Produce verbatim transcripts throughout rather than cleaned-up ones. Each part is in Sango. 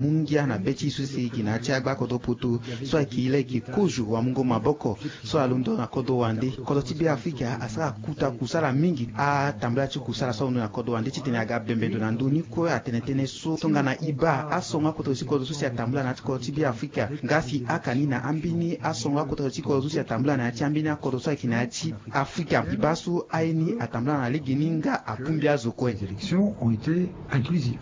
Mu ngia na be ti so si e yeke na ya ti agba kodro poto so ayeke e laa e yeke kozo wamungo maboko so alondo na kodro wande. Kodro ti Beafrika asara kuta kusala mingi atambula ti kusala so alondo na kodro wande titene aga bembe ndo na ndö ni kue atene tënë so tongana e baa asongo akota ti kodro so si atambula na ya ti kodro ti Beafrika nga si aka ni na ambeni asongo akota ti kodro so si atambula na ya ti ambeni akodro so ayeke na ya ti Afrika. E baa so aye ni atambula na legeni nga abongbi azo kue.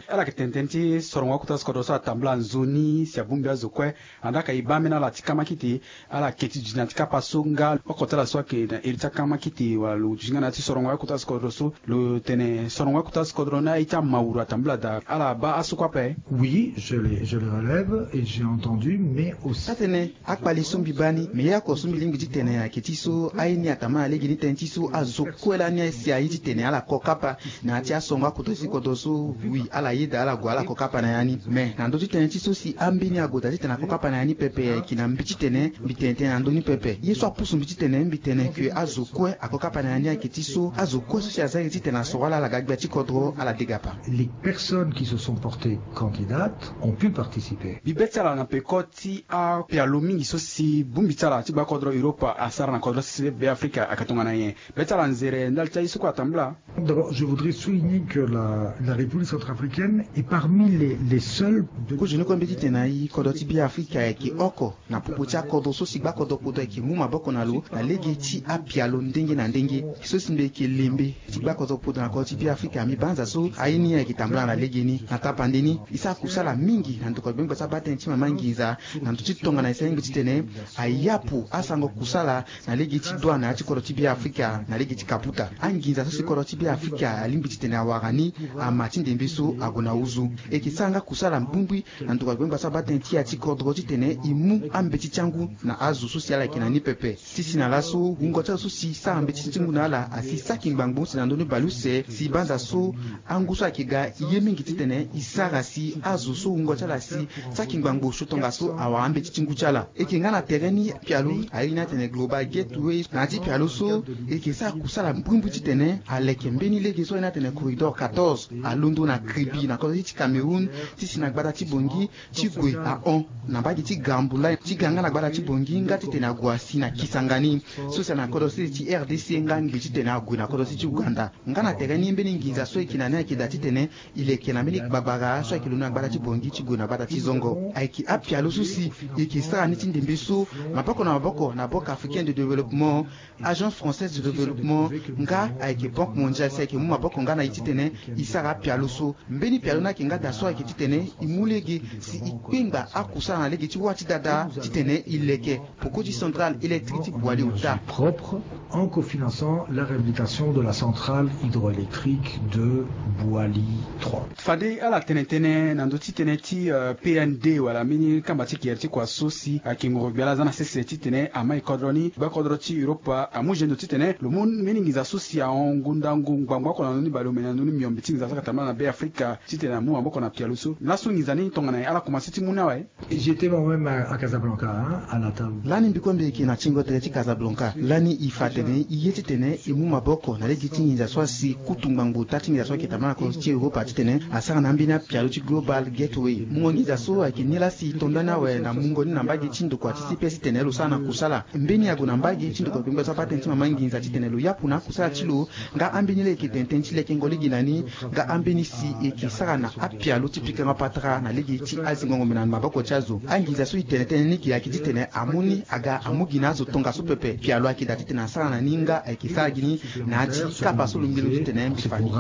Ala yeke tene tënë ti sorongo akota ti kodro so atambula nzoni si abongbi azo kue. Andaa ka e baa ambeni ala ti kamakite, ala ke ti duti na ya ti kapa so nga oko ti ala so ayeke na iri ti akamakite wala lo duti nga na ya ti sorongo akota ti kodro so. Lo tene sorongo akota ti kodro ni aye ti amauru atambula daa. Ala baa aso kue ape. Oui, je les, je les relève et j'ai entendu, mais aussi. Atene akpali so mbi baa ni, me ye oko so mbi lingbi titene ayeke ti so aye ni atambula na legeni tënë ti so azo kue lani si aye titene ala ko kapa na ya ti asongo akota ti kodro so. Oui, ala yeda ala gue ala ko kapa na ya ni. Me na ndö ti tënë ti so si ambeni ague daa titene ako kapa na ya ni pepe, ayeke na mbi titene mbi tene tënë na ndö ni pepe. Ye so apusu mbi titene mbi tene ke azo kue ako kapa na ya ni ayeke ti so azo kue so si aza ye titene asoro ala ala ga gbia ti kodro ala dega pa. Les personnes qui se sont portées candidates ont pu participer. Mbi be ti ala na peko ti apialo mingi so si bongbi ti ala ti gbakodro Europa asara na kodro ti Beafrika ayeke tongana nyen? Be ti ala nzere ndali ti aye so kue atambula. D'abord, je voudrais souligner que la, la République centrafricaine est parmi les, les seules de. Kozoni kue mbi titene aye kodro ti Beafrika ayeke oko na popo ti akodro so si gbakodro poto ayeke mu maboko na lo na lege ti apialo ndenge na ndenge. So si mbi yeke lembe ti gbakodro poto na kodro ti Beafrika, mbi banza so aye ni ayeke tambula na legeni. Na tapande ni, e sara kusala mingi na ndokua gbengbe ti abatene ti mama nginza na ndö ti tongana e sara lingbi titene ayapu asango kusala na lege ti douane na ya ti kodro ti Beafrika na lege ti kaputa. Anginza so si kodro ti Beafrika alingbi titene awara ni ama ti ndembe so ague na huzu. E yeke sara nga kusala mbirimbiri na ndokua gbengba so abatene ti ya ti kodro titene e mu ambeti ti angu na azo so si ala yeke na ni pepe. Ti si na laso wungo ti azo so si sara mbeti ti ngu na ala asi saki ngbangbo use na ndö ni bale use si banza so angu so ayeke ga e ye mingi titene e sara si azo so wungo ti ala si saki ngbangbo so tongaso awara ambeti ti ngu ti ala. E yeke nga na tere ni apialo aye ni atene Global Gateway na ya ti pialo so e yeke sara kusala mbirimbiri titene aleke mbeni lege so aye ni atene corridor quatorze alondo na Kribi na kodro ti Cameroun ti si na gbata ti Bangui ti gue ahon na mbage ti Gambula ti ga nga na gbata ti Bangui nga titene ague asi na Kisangani so si na kodro sese ti R D C nga ngbi titene ague na kodro sese ti Ouganda. Nga na tere ni mbeni nginza so e yeke na ni ayeke daa titene e leke na mbeni gbagbara so ayeke londo na gbata ti Bangui ti gue na gbata ti Zongo. Ayeke apialo so si e yeke sara ni ti ndembe so maboko na maboko na Banque Africaine de Développement, Agence Française de Développement nga ayeke Banque Mondiale si ayeke mu maboko nga na e titene e sara apialo so. Mbeni pialo ni ayeke nga daa so ayeke titene e mu lege si e kpengba akusala na lege ti wâ ti dada titene e leke poko ti centrale électrique ti Boali ota. Propre en cofinançant la réhabilitation de la centrale hydroélectrique de Boali trois. Fade ala tene tënë na ndö ti tënë ti, euh, P N D wala mbeni kamba ti gere ti kua so si ayeke ngoro gbia laa aza na sese titene amai kodro ni gbakodro ti Europa amu gendo titene lo mu mbeni nginza so si ahon ngu ndangu ngbangbo oko na ndö ni baleomene na ndö ni miombe ti nginza so ayeke tambula na Beafrika titene amu maboko na pialo so. Laso nginza ni tongana ala komanse ti mu ni awe. J'étais moi-même à, à Casablanca, hein, à la table. Lani mbi kue mbi yeke na tingo tere ti Casablanca. Lani e fa atene e ye titene e mu maboko na lege ti nginza so asi kutu ngbangbo ota ti nginza so ayeke tambula na kodro ti Europa titene asara na ambeni apialo ti Global Gateway. Mungo nginza so ayeke ni laa si e to ndani awe na mungo ni na mbage ti ndokua ti C P S titene lo sara na kusala. Mbeni ague na mbage ti ndokua gbengbe so abatene ti mama nginza titene lo yapu na akusala ti lo nga ambeni laa e yeke tene tënë ti lekengo lege na ni nga ambeni si e yeke sara na apialo ti pikango patara na lege ti azingo ngombe na maboko ti azo. Anginza so e tene tënë ni gi ayeke titene amu ni aga amu gi na azo tongaso pepe. Pialo ayeke daa titene asara na ni nga ayeke sara gi ni na ya ti kapa so lo ngbelo titene mbi fa ni.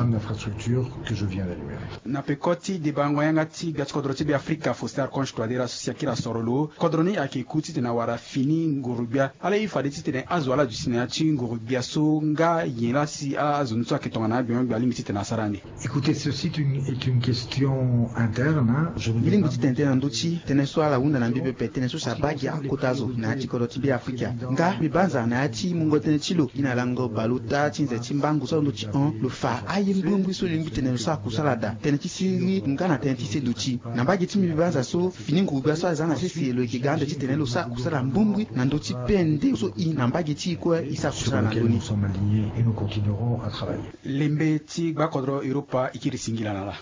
Na peko ti debango yanga ti gbia ti kodro ti Beafrika Faustin Archange Touadéra so si akiri asoro lo, kodro ni ayeke ku titene awara fini nguru gbia. Ala ye fade titene azo ala duti na ya ti nguru gbia so nga nyen laa si azo ni so ayeke tongana agbengbe gbia alingbi titene asara ande. Écoutez, ceci est une, est une question interne, hein. Je ne vais pas. Mbi lingbi ti tene tënë na ndö ti tënë so ala hunda na mbi pepe, tënë so si abaa gi akota zo na ya ti kodro ti Beafrika. Nga mbi banza na ya ti mungo tënë ti lo gi na lango baleota ti nze ti mbangu so alondo ti hon, lo fa aye mbirimbiri so lingbi tene lo sara kusala daa. Tënë ti siriri nga na tënë ti seduti. Na mbage ti mbi mbi banza so fini nguru gbia so aza na sese lo yeke ga ande titene lo sara kusala mbirimbiri na ndö ti P N D so e na mbage ti e kue e sara kusala na ndö ni. Sur lequel nous sommes alignés et nous continuerons à travailler. Lembe ti gbakodro Europa e kiri singila na ala.